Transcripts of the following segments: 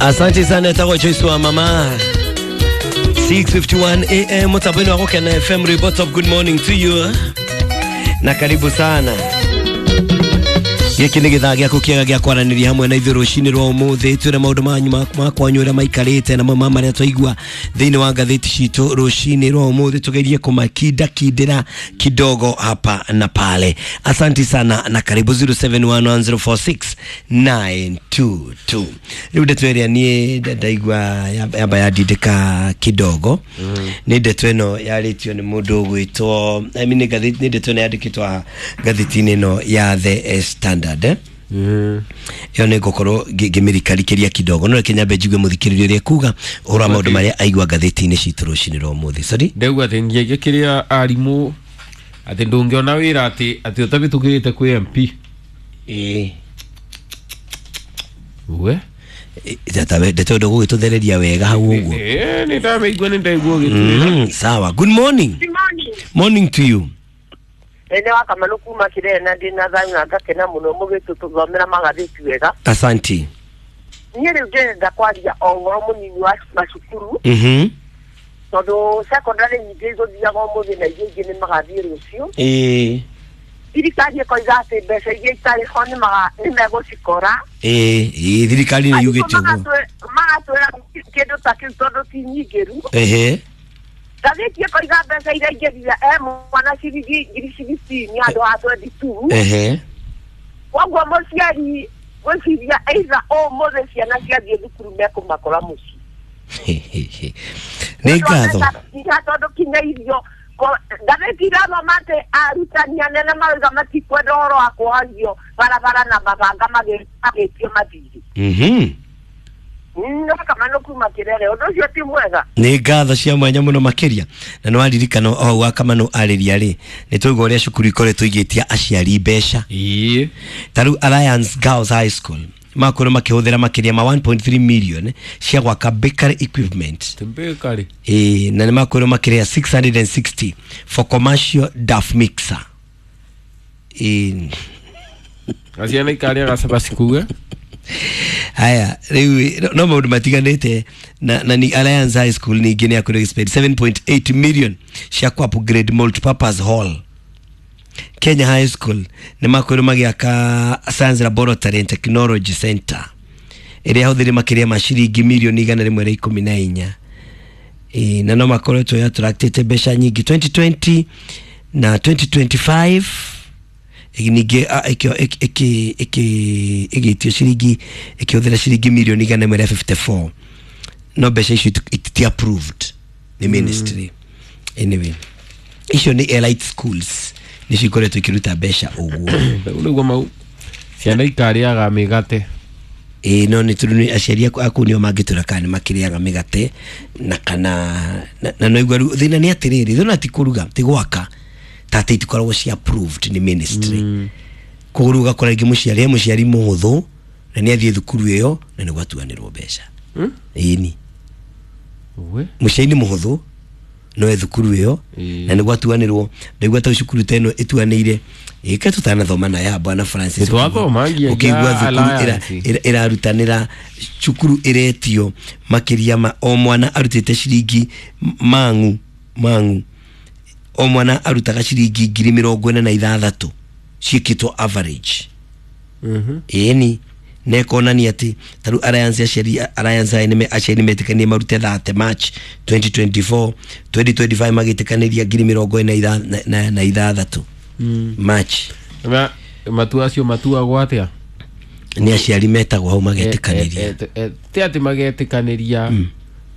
Asante sana etagwo Joyce wa mama. 6:51 am mutabweni wa Gukena FM report of good morning to you na karibu sana. Gĩkĩ nĩ gĩthaa gĩaku kĩega gĩa kwaranĩria hamwe na ithuĩ rũcinĩ rwa ũmũthĩ. Twĩre maũndũ manyu ma kwanyu ũrĩa maikarĩte na mamwe ma marĩa twaigua thĩinĩ wa ngathĩti citũ rũcinĩ rwa ũmũthĩ, tũgerie kũmakindakindĩra kidogo hapa na pale. Asanti sana na karibu. 0711046922. Rĩu ndeto ĩrĩa niĩ ndaigua yamba yandindĩka kidogo nĩ ndeto ĩno yarĩtio nĩ mũndũ ũgwĩtwo, I mean, nĩ ndeto ĩno yandĩkĩtwo ngathĩti-inĩ ĩno ya The Standard. Ĩyo nĩ ngũkorwo ngĩmĩrikarikĩria kidogo, no reke nyambe njigue mũthikĩrĩria ũrĩa ekuga ũhoro wa maũndũ marĩa aigua ngathĩti-inĩ citũ rũcinĩ rwa ũmũthĩ. Sorry, ndauga atĩ ngĩagia kĩrĩa arimũ atĩ ndũngĩona wĩra atĩ ũtabĩtũkĩrĩte kwĩ MP. Ĩĩ. We ndeto ndũgũgĩtũthereria wega hau ũguo. Nĩ ndamĩigua, nĩ ndaigua ũgĩtwĩra. Sawa, good morning. Good morning. Morning to you. Nĩ wa Kamanu kuma Kirene na ndĩna thayũ na ngakena mũno mũgĩtũthomera magathĩti wega. Asanti. Niĩ rĩu ndĩrenda kwaria o ũhoro mũnini wa macukuru tondũ secondary nyingĩ igũthiaga ũmũthĩ na iria ingĩ nĩ magathiĩ rũciũ. Ĩĩ. Thirikari ĩkoiga atĩ mbeca iria itarĩ ho nĩ megũcikora. Ĩĩ, ĩĩ, thirikari nĩ yugĩte ũguo. Magatwĩra kĩndũ ta kĩu tondũ ti nyingĩru. Ehe. Ngathĩti ĩkoiga mbeca iria ingĩthira e mwana ciringi ngiri 16 handũ ha 22. Ehe. Koguo mũciari gwĩciria either ũmũthĩ ciana ciathiĩ thukuru mekũmakora mũciĩ. Nĩ ngatho. Tondũ kinya irio ngathĩti irathoma atĩ arutani anene marauga matikwenda ũhoro wa kuohagio barabara na mabanga magĩtio mathirĩ. No Kamanu kuma Kirere, ũndũ ũcio ti mwega. Nĩ ngatho cia mwanya mũno makĩria. Na nĩ waririkana o hau wa Kamanu arĩria rĩ, nĩ twaigua ũrĩa cukuru ikoretwo igĩtia aciari mbeca. Ĩĩ. Ta rĩu Alliance Girls High School makorwo makĩhũthĩra makĩria ma 1.3 million cia gwaka bakery equipment. Bakery. Ĩĩ, na nĩ makorwo makĩrĩha 660 for commercial duff mixer. Ĩĩ. Aciana ikarĩaga cabaci kuga. Haya, rĩu no maũndũ matiganĩte na ni Alliance High School ningĩ nĩ yakorirwo ĩgĩspend 7.8 million cia ku upgrade multipurpose hall. Kenya High School nĩ makorirwo magĩaka Science Laboratory and Technology Center ĩrĩa yahũthĩrire makĩria ma ciringi mirioni 114. Ĩĩ, na no makoretwo attractĩte mbeca nyingĩ 2020 na 2025. Ningĩ ĩgĩtio ciringi ĩkĩhũthĩra ciringi mirioni 154, no mbeca icio iti approved nĩ ministry. Anyway, icio nĩ elite schools nĩcio ikoretwo ikĩruta mbeca ũguo. Rĩu mau ciana ikarĩaga mĩgate. Ĩĩ, no nĩ tondũ nĩ aciari aku nĩo mangĩtwĩra kana nĩ makĩrĩaga mĩgate na kana na no igua rĩu thĩna nĩ atĩrĩrĩ, thĩna ti kũruga ti gwaka ta atĩ itikoragwo cia approved nĩ ministry. Koguo rĩu ũgakora rĩngĩ mũciari he mũciari mũhũthũ na nĩ athiĩ thukuru ĩyo na nĩ gwatuanĩrwo mbeca. Ĩni. Mũciari nĩ mũhũthũ no e thukuru ĩyo na nĩ gwatuanĩrwo. Ndaigua ta cukuru ta ĩno ĩtuanĩire ĩke tũtanathoma na ya Bwana Francis. Nĩtwathoma nginya Ũkĩigua thukuru ĩrarutanĩra cukuru ĩretio makĩria ma o mwana arutĩte ciringi mang'u o mwana arutaga ciringi 46,000 ciĩkĩtwo average. Ĩni na ĩkonania atĩ ta rĩu Alliance aciari Alliance aya nĩ aciari nĩmetĩkanĩire marute 30 March 2024, 2025 magĩtĩkanĩria 46,000 March. Matua acio matuagwo atĩa? Nĩ aciari metagwo hau magetĩkanĩria. Ti atĩ magetĩkanĩria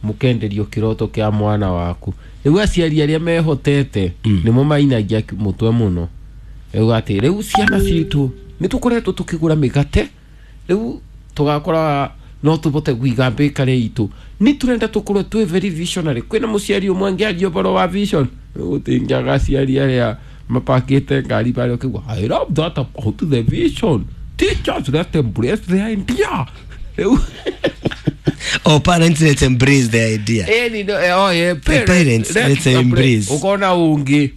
mũkenderio kĩroto kĩa mwana waku. Rĩu aciari arĩa mehotete nĩmo mainagia mũtwe mũno. Rĩu atĩ rĩu ciana citũ nĩ tũkoretwo tũkĩgũra mĩgate, rĩu tũgakora no tũbote kũiga bakery itũ. Nĩ tũrenda tũkorwo twĩ very visionary. Kwĩna mũciari ũmwe angĩaria ũhoro wa vision, gũtingĩaga aciari arĩa mapakĩte ngari barĩa ũkĩigua I love that about the vision. Teachers, let embrace the idea. Rĩu Oh, parents, let's embrace the idea. Parents, let's embrace. Ukona ungi.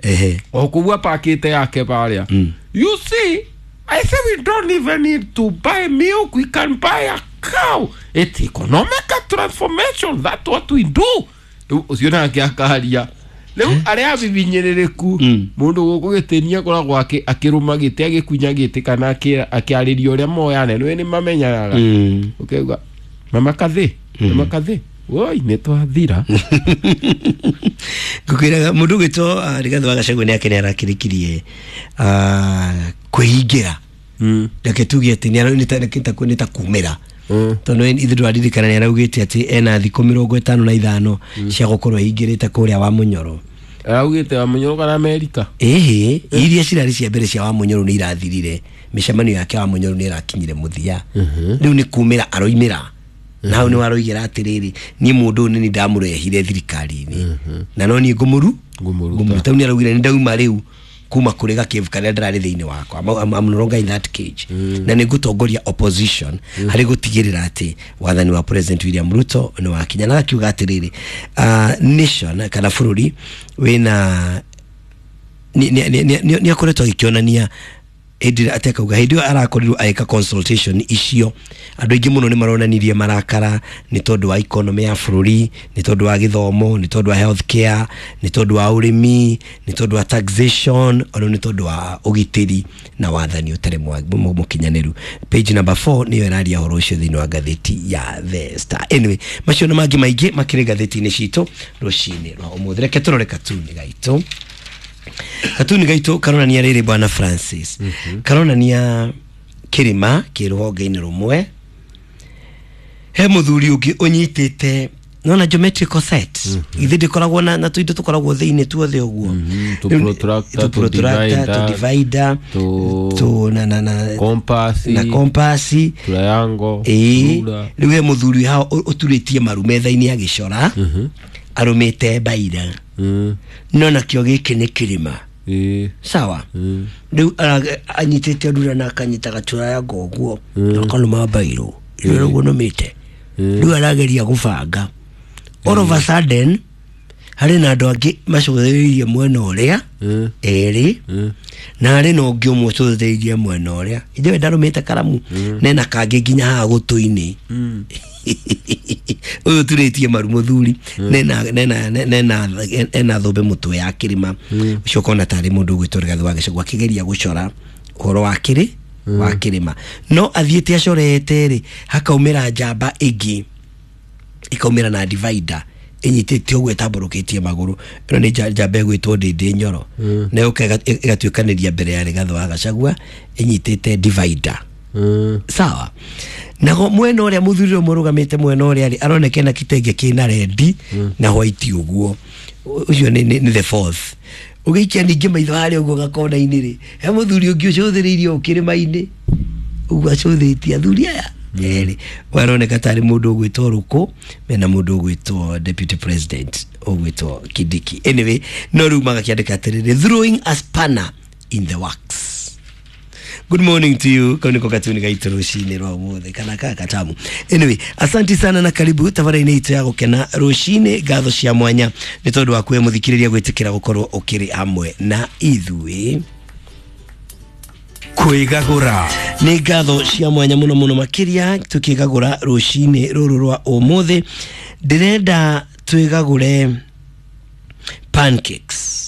Okugua pakete yake baria. You see, I say we don't even need to buy milk. We can buy a cow. It's economic transformation, that's what we do. Rĩu ũcio nake akaria. Rĩu arĩa abibinyĩrĩrĩku mũndũ gũkũ gĩtĩnia akoragwo akĩrũma gĩtĩ agĩkunya gĩtĩ kana akĩarĩria ũrĩa moyane nĩ nĩ mamenyanaga. Ũkauga mama kathĩ, mama kathĩ, woi nĩ twathira. Ngũkwĩraga mũndũ ũgwĩtwo Rigathĩ wa Gachagua nĩ ake nĩ arakĩrĩkirie kwĩhingĩra. Reke tuge atĩ nĩ ta kumĩra. Tondũ ithuĩ ndwaririkana nĩ araugĩte atĩ ena thikũ 55 cia gũkorwo ehingĩrĩte kũrĩa wa Mũnyoro. Araugĩte wa Mũnyoro kana Amerika? Ĩhĩ, iria cirarĩ cia mbere cia wa Mũnyoro nĩ irathirire. Mĩcemanio yake wa Mũnyoro nĩ ĩrakinyire mũthia. Rĩu nĩ kumĩra aroimĩra. Na hau nĩ waroigĩra atĩrĩrĩ, niĩ mũndũ ũyũ nĩ ndamũrehire thirikari-inĩ. Na no niĩ ngũmũruta. Rĩu nĩ araugire nĩ ndauma rĩu kuma kũrĩ gakĩbu karĩa ndĩrarĩ thĩinĩ wakwa. I'm no longer in that cage. Na nĩ ngũtongoria opposition harĩ gũtigĩrĩra atĩ wathani wa President William Ruto nĩ wakinya. Na akiuga atĩrĩrĩ, nation kana bũrũri wĩna nĩ akoretwo agĩkĩonania hĩndĩ ĩrĩa atekauga hĩndĩ ĩyo arakorirwo agĩka consultation icio andũ aingĩ mũno nĩ maronanirie marakara nĩ tondũ wa economy ya bũrũri, nĩ tondũ wa gĩthomo, nĩ tondũ wa health care, nĩ tondũ wa ũrĩmi, nĩ tondũ wa taxation, ona nĩ tondũ wa ũgitĩri na wathani ũtarĩ mũkinyanĩru. Page number 4 nĩyo ĩraria ũhoro ũcio thĩinĩ wa ngathĩti ya The Star. Anyway, macio na mangĩ maingĩ makĩrĩ ngathĩti-inĩ citũ rũcinĩ rwa ũmũthĩ. Reke tũrore katuni gaitũ. Katuni gaitũ karonania rĩrĩ bwana Francis. Karonania kĩrĩma kĩ rũhonge-inĩ rũmwe. He mũthuri ũngĩ ũnyitĩte nona geometrical set. Ithe ndĩkoragwo na tũindo tũkoragwo thĩinĩ tuothe ũguo. Tu protractor, tu divider, tu na compass, na compass, triangle. Rĩu he mũthuri hao ũturĩtie maru metha-inĩ agĩcora. Arũmĩte mbaira. No nakĩo gĩkĩ nĩ kĩrĩma. Sawa. Rĩu anyitĩte rura na akanyita gaturaya ũguo na akanũma mbairũ ĩrĩa ũguo nũmĩte. Rĩu arageria gũbanga. All of a sudden harĩ na andũ angĩ macũthĩrĩirie mwena ũrĩa erĩ na harĩ na ũngĩ ũmwe ũcũthĩrĩirie mwena ũrĩa. Ithuĩ ndarũmĩte karamu nena kangĩ nginya haha gũtũ-inĩ. Ũyũ ũturĩtie maru mũthuri nena thũmbĩ mũtwe ya kĩrĩma. Ũcio ũkona tarĩ mũndũ ũgwĩtwo Rigathĩ wa Gachagua akĩgeria gũcora ũhoro wa wa kĩrĩma. No athiĩte acorete rĩ, hakaumĩra njamba ĩngĩ ikaumĩra na divider ĩnyitĩte ũguo ĩtambũrũkĩtie magũrũ. Ĩno nĩ njamba ĩgwĩtwo Ndĩndĩ Nyoro. Na yũka ĩgatuĩkanĩria mbere ya Rigathĩ wa Gachagua ĩnyitĩte divider. Sawa. Nago mwena ũrĩa mũthuri ũrĩa mũrũgamĩte mwena ũrĩa rĩ aroneka na kitenge kĩna rendi na white ũguo. Ũcio nĩ the fourth. Ũgĩikia ningĩ maitho harĩa ũguo gakona-inĩ rĩ, he mũthuri ũngĩ ũcũthĩrĩirie o kĩrĩma-inĩ ũguo acũthĩtie athuri aya erĩ. Aroneka tarĩ mũndũ ũgwĩtwo Rũkũ mena mũndũ ũgwĩtwo Deputy President ũgwĩtwo Kindiki. Anyway, no rĩu magakĩandĩka atĩrĩrĩ, throwing a spanner in the works. Good morning to you. Kau niko katuni gaitũ rũcinĩ rwa ũmũthĩ kana kaka katamu. Anyway, asanti sana na karibu tabarĩinĩ itũ ya gũkena rũcinĩ. Ngatho cia mwanya nĩ tondũ wa kwĩ mũthikĩrĩria gwĩtĩkĩra gũkorwo ũkĩrĩ hamwe na ithuĩ. Kwĩgagũra nĩ ngatho cia mwanya mũno mũno makĩria tũkĩgagũra rũcinĩ rũrũ rwa ũmũthĩ. Ndĩrenda twĩgagũre pancakes.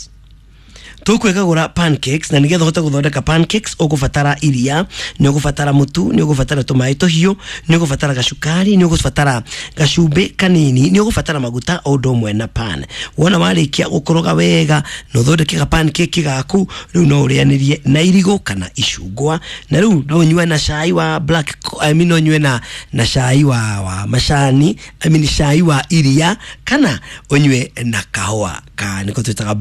Tũkwĩgagũra pancakes na nĩgetha ũhote gũthondeka pancakes ũgũbatara iria, nĩ ũgũbatara mũtu, nĩ ũgũbatara tũmaĩ tũhiũ, nĩ ũgũbatara gacukari, nĩ ũgũbatara gacumbĩ kanini, nĩ ũgũbatara maguta o ũndũ ũmwe na pan. Wona warĩkia gũkoroga wega na ũthondeke ga pancake gaku, rĩu no ũrĩanĩrie na irigũ kana icungwa, na rĩu no ũnyue na cai wa black, I mean no ũnyue na cai wa macani, I mean cai wa iria, kana ũnyue na kahũa ka nĩko twĩtaga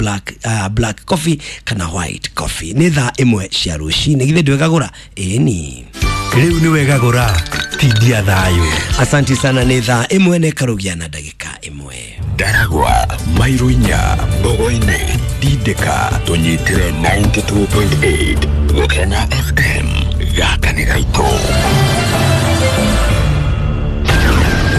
black coffee kana white coffee. Nĩ thaa 1 cia rũcinĩ. Githĩ ndwĩgagũra? Ĩni rĩu nĩ wegagũra tindia thayũ. Asanti sana. Nĩ thaa 1 na ĩkarugia na ndagĩka 1. Ndaragwa mairo 4 Mbogo-inĩ Tindĩka tũnyitĩre 92.8 Gũkena FM gaka nĩ gaitũ.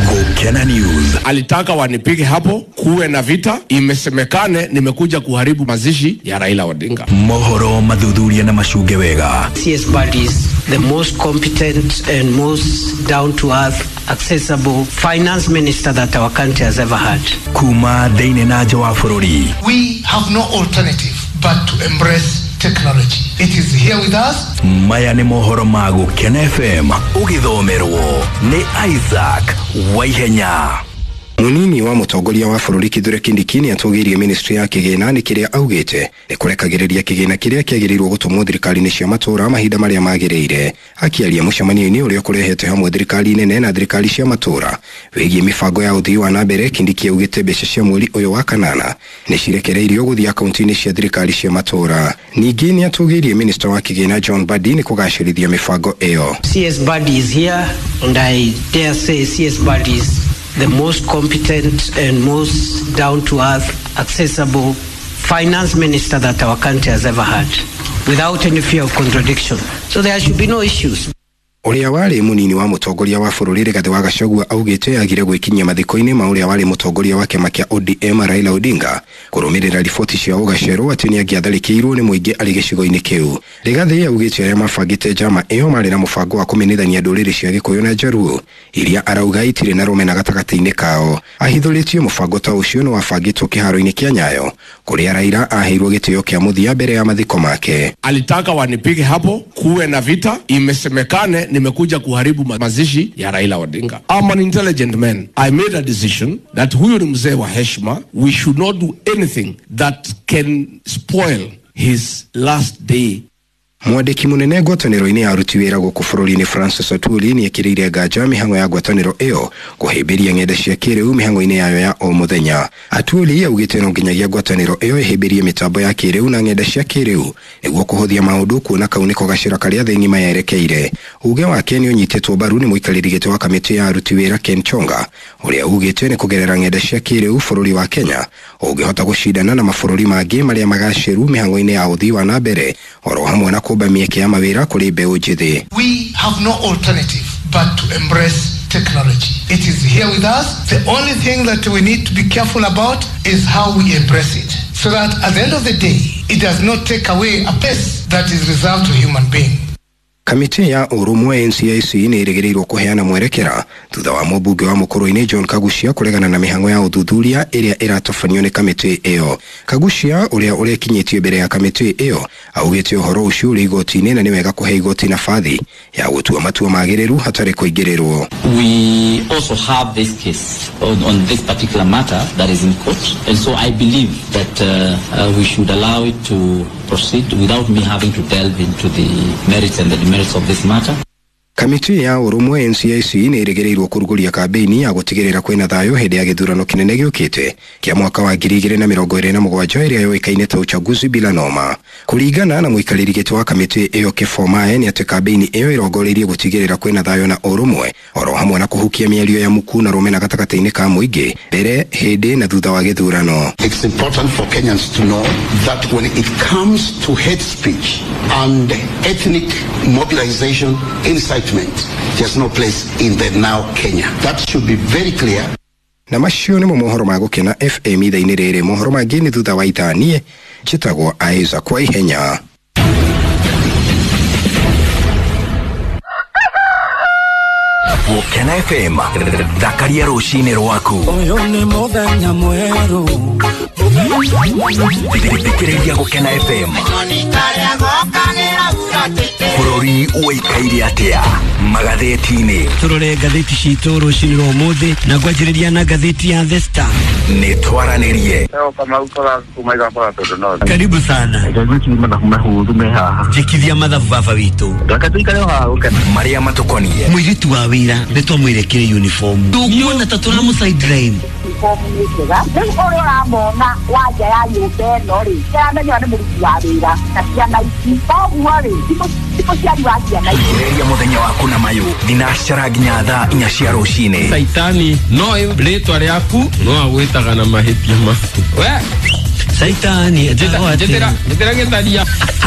Gũkena Gukena News. Alitaka wanipige hapo, kuwe na vita, imesemekane nimekuja kuharibu mazishi ya Raila Odinga. Mohoro mathuthuria na macunge wega. CS Badi is the most competent and most down to earth, accessible finance minister that our country has ever had. Kuma thĩinĩ na nja wa bũrũri. We have no alternative but to embrace technology. It is here with us. Maya nĩ mohoro ma Gũkena FM ũgĩthomerwo nĩ Isaac Waihenya. Munini wa mũtongoria wa bũrũri Kithure Kindiki nĩ atũgĩirie ministry ya kĩgĩna nĩ kĩrĩa augĩte nĩ kũrekagĩrĩria kĩgĩna kĩrĩa kĩagĩrĩirwo gũtũmwo thirikari-inĩ cia matũũra mahinda marĩa magĩrĩire. Akĩaria mũcemanio-inĩ ũrĩa ũkũrehete hamwe thirikari nene na thirikari cia matũũra wĩgiĩ mĩbango ya ũthii wa na mbere, Kindiki augĩte mbeca cia mweri ũyũ wa kanana nĩ cirekereirio gũthiĩ akaunti-inĩ cia thirikari cia matũũra. Ningĩ nĩ atũgĩirie minista wa kĩgĩna John Mbadi nĩ kũgacĩrithia mĩbango ĩyo. CS Badi is here and I dare say CS Badi is the most competent and most down to earth, accessible finance minister that our country has ever had, without any fear of contradiction. So there should be no issues. Ũrĩa warĩ mũnini wa mũtongoria wa bũrũri Rigathĩ wa Gachagua augĩte agire gwĩkinyia mathiko-inĩ ma ũrĩa warĩ mũtongoria wa kĩama kĩa ODM Raila Odinga kũrũmĩrĩra riboti cia ũgacerwo atĩ nĩangĩatharĩkĩirwo nĩ mũingĩ arĩ gĩcigo-inĩ kĩu. Rigathĩ augĩte arĩa mabangĩte njama ĩyo marĩ na mũbango wa kũmenithania ndũrĩrĩ cia Gĩkũyũ na Njaruo iria arauga itirĩ na rũmena gatagatĩ-inĩ kao. Ahithũrĩtie mũbango ta ũcio nĩ wabangĩtwo kĩharo-inĩ kĩa Nyayo kũrĩa Raila aheirwo gĩtĩo kĩa mũthia mbere ya mathiko make. Alitaka wanipige hapo, kuwe na vita, imesemekane nimekuja kuharibu mazishi ya Raila Odinga. I'm an intelligent man. I made a decision that huyu ni mzee wa heshima. We should not do anything that can spoil his last day. Mwandĩki mũnene ngwatanĩro-inĩ ya aruti wĩra gũkũ bũrũri-inĩ Francis Atwoli nĩekĩrĩire nganja mĩhang'o ya ngwatanĩro ĩyo kũhĩmbĩria ng'enda cia kĩrĩu mĩhang'o-inĩ yayo ya o mũthenya. Atwoli augĩte no nginyagia ngwatanĩro ĩyo ĩhĩmbĩrie mĩtambo ya kĩrĩu na ng'enda cia kĩrĩu nĩguo kũhũthia maũndũ kuona kau nĩko gacĩra karĩa thĩ ng'ima yerekeire. Uge wake nĩ ũnyitĩtwo mbaru nĩ mũikarĩri gĩtĩ wa kamĩtĩ ya aruti wĩra Ken Chonga ũrĩa ugĩte nĩ kũgerera ng'enda cia kĩrĩu bũrũri wa Kenya ũngĩhota gũcindana na mabũrũri mangĩ marĩa magacĩru mĩhang'o-inĩ ya ũthii wa na mbere oro hamwe na kũmba mĩeke ya mawĩra kũrĩ mbeũ njĩthĩ. We have no alternative but to embrace technology. It is here with us. The only thing that we need to be careful about is how we embrace it, so that at the end of the day, it does not take away a place that is reserved to human being. Kamĩtĩ ya ũrũmwe NCIC nĩ ĩrĩgĩrĩirwo kũheana mwerekera thutha wa mũmbunge wa Mũkũrũ-inĩ John Kaguchia kũregana na mĩhang'o ya ũthuthuria ĩrĩa ĩratabanio nĩ kamĩtĩ ĩyo. Kaguchia ũrĩa ũrekinyĩtie mbere ya kamĩtĩ ĩyo augĩte ũhoro ũcio ũrĩ igoti-inĩ na nĩ wega kũhe igoti nabathi ya gũtua matua magĩrĩru hatarĩ kũingĩrĩrwo. We also have this case on this particular matter that is in court, and so I believe that we should allow it to proceed without me having to delve into the merits and the demerits of this matter. Kamĩtĩ ya ũrũmwe NCIC nĩ ĩrĩgĩrĩirwo kũrugũria kambĩini ya gũtigĩrĩra kwĩna thayũ hĩndĩ ya gĩthurano kĩnene gĩũkĩte kĩa mwaka wa 2027 ĩrĩa yũĩkaine ta uchaguzi bila noma. Kũringana na mũikarĩri gĩtĩ wa kamĩtĩ ĩyo Kĩbomae nĩ atĩ kambĩini ĩyo ĩrongoreirie gũtigĩrĩra kwĩna thayũ na ũrũmwe oro hamwe na kũhukia mĩario ya muku na rũmena gatagatĩ-inĩ ka mũingĩ mbere, hĩndĩ na thutha wa gĩthurano. It's important for Kenyans to know that when it comes to hate speech and ethnic mobilization, incitement, there's no place in the now Kenya. That should be very clear. Na macio nĩmo mohoro ma Gũkena FM ithaa-inĩ rĩrĩ. Mohoro mangĩ nĩ thutha wa ithaa. Niĩ njĩtagwo Isaac Waihenya. Gũkena FM thakaria rũcinĩ rwaku. Ũyũ nĩ mũthenya mwerũ. Thikĩrĩria Gũkena FM. Bũrũri ũikaire atĩa magathĩti-inĩ? Tũrore ngathĩti citũ rũcinĩ rwa ũmũthĩ na ngwanjĩrĩria na ngathĩti ya The Star. Nĩ twaranĩrie. Karibu sana. Njĩkithia mathabu baba witũ. Marĩa matũkoniĩ. Mũirĩtu wa wĩra nĩ twamwĩrekire uniform. Ndũkuona ta tũramũ sideline. Uniform nĩ njega. Rĩu ũrĩa ũramona wa nja ya nyũmba ĩno rĩ, nĩaramenya nĩ mũruti wa wĩra na ciana ici. Koguo rĩ, ti mũciari wa ciana ici. Thikĩrĩria mũthenya waku na mayũ thinacara nginya thaa 4 cia rũcinĩ. Saitani no rĩtwa rĩaku no agwĩtaga na mahĩtia maku. We Saitani njĩtĩra gĩtharia.